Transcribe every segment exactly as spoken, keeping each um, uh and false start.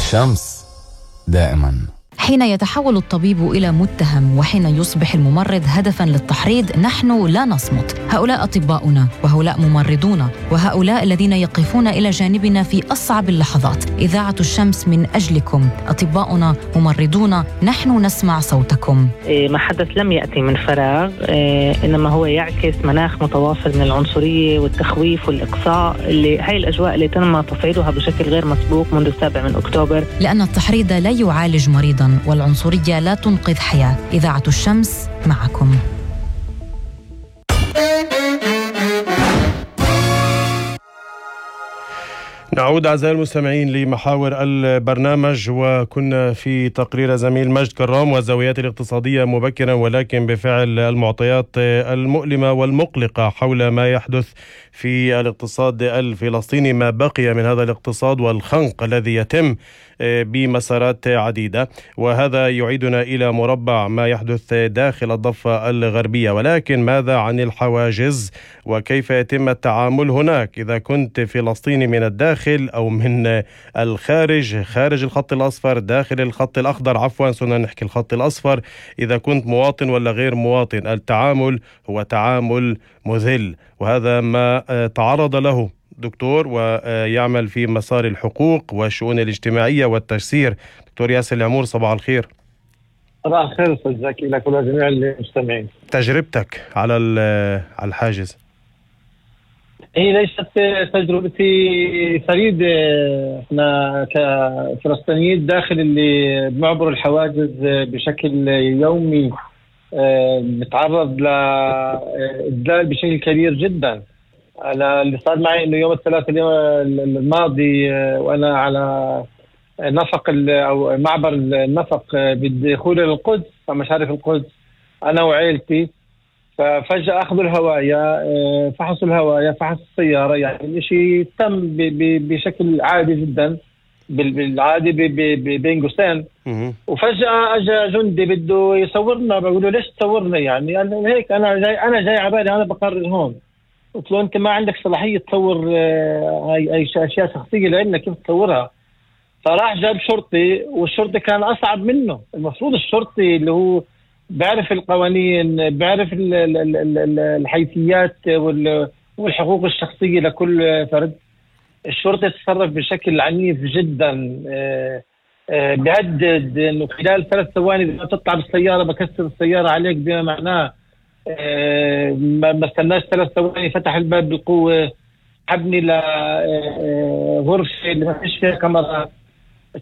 الشمس دائما. حين يتحول الطبيب إلى متهم وحين يصبح الممرض هدفاً للتحريض، نحن لا نصمت. هؤلاء أطباؤنا وهؤلاء ممرضونا، وهؤلاء الذين يقفون إلى جانبنا في أصعب اللحظات. إذاعة الشمس من أجلكم، أطباؤنا ممرضونا، نحن نسمع صوتكم. ما حدث لم يأتي من فراغ، إنما هو يعكس مناخ متواصل من العنصرية والتخويف والإقصاء، اللي هاي الأجواء اللي تم تصعيدها بشكل غير مسبوق منذ السابع من أكتوبر. لأن التحريض لا يعالج مريضاً والعنصرية لا تنقذ حياة. إذاعة الشمس معكم. نعود أعزائي المستمعين لمحاور البرنامج، وكنا في تقرير زميل مجد كرام والزاويات الاقتصادية مبكرا، ولكن بفعل المعطيات المؤلمة والمقلقة حول ما يحدث في الاقتصاد الفلسطيني، ما بقي من هذا الاقتصاد والخنق الذي يتم بمسارات عديدة، وهذا يعيدنا إلى مربع ما يحدث داخل الضفة الغربية. ولكن ماذا عن الحواجز وكيف يتم التعامل هناك إذا كنت فلسطيني من الداخل أو من الخارج، خارج الخط الأصفر، داخل الخط الأخضر، عفوا سنة نحكي الخط الأصفر، إذا كنت مواطن ولا غير مواطن، التعامل هو تعامل مذل، وهذا ما تعرض له دكتور ويعمل في مسار الحقوق والشؤون الاجتماعية والتجسير، دكتور ياسر العمور. صباح الخير. صباح الخير أستاذ زكي لك ولجميع المستمعين. تجربتك على على الحاجز. هي ليست تجربتي فريدة، احنا كفلسطينيين داخل اللي بنعبر الحواجز بشكل يومي نتعرض لإذلال بشكل كبير جدا. أنا اللي صار معي إنه يوم الثلاثاء اليوم الماضي وأنا على نفق أو معبر النفق بالدخول إلى القدس ومشارف القدس أنا وعائلتي، ففجأة أخذوا الهواية، فحصوا الهواية، فحصوا السيارة، يعني الشيء تم بشكل عادي جدا بالعادي بين قوسين. وفجأة أجا جندي بده يصورنا، بقول له ليش تصورنا؟ يعني قال هيك أنا جاي أنا جاي عبالي أنا بقرر هون. قلت له أنت ما عندك صلاحية تصور هاي أي أشياء شخصية لأنك كيف تصورها؟ فراح جاب شرطي، والشرطي كان أصعب منه. المفروض الشرطي اللي هو بيعرف القوانين، بيعرف الحيثيات والحقوق الشخصية لكل فرد. الشرطي تصرف بشكل عنيف جدا، بيهدد انه خلال ثلاث ثواني اذا تطلع بالسيارة بكسر السيارة عليك، بما معناه ما استناش ثلاث ثواني فتح الباب بالقوة، حبني لغرفة اللي ما فيش فيها كاميرا.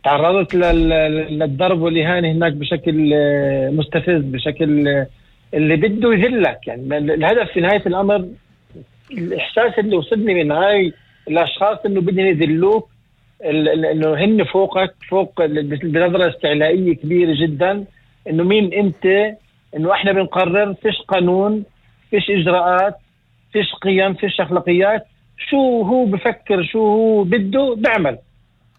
تعرضت للضرب والإهانة هناك بشكل مستفز، بشكل اللي بده يذلك. يعني الهدف في نهاية الأمر الإحساس اللي وصلني من هاي الأشخاص إنه بدهم يذلوك، إنه هن فوقك، فوق بنظرة استعلائية كبيرة جدا، إنه مين أنت، إنه إحنا بنقرر، فيش قانون، فيش إجراءات، فيش قيم، فيش أخلاقيات. شو هو بفكر، شو هو بده بعمل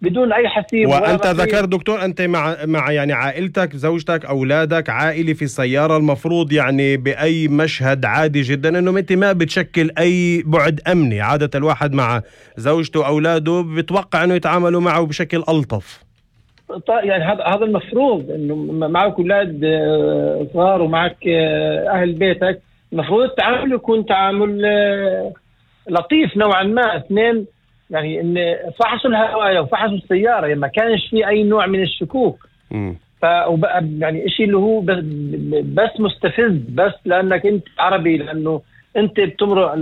بدون أي حسيب. وأنت ذكر دكتور أنت مع مع يعني عائلتك، زوجتك، أولادك، عائلة في السيارة، المفروض يعني بأي مشهد عادي جدا إنه أنت ما بتشكل أي بعد أمني. عادة الواحد مع زوجته وأولاده بتوقع إنه يتعاملوا معه بشكل ألطف. يعني هذا هذا المفروض، إنه معك أولاد صغار ومعك أهل بيتك، المفروض التعامل يكون تعامل لطيف نوعا ما. اثنين يعني ان فحصوا الهواية وفحصوا السيارة، يعني ما كانش في اي نوع من الشكوك. ف يعني اشي اللي هو بس مستفز، بس لانك انت عربي، لانه انت بتمرق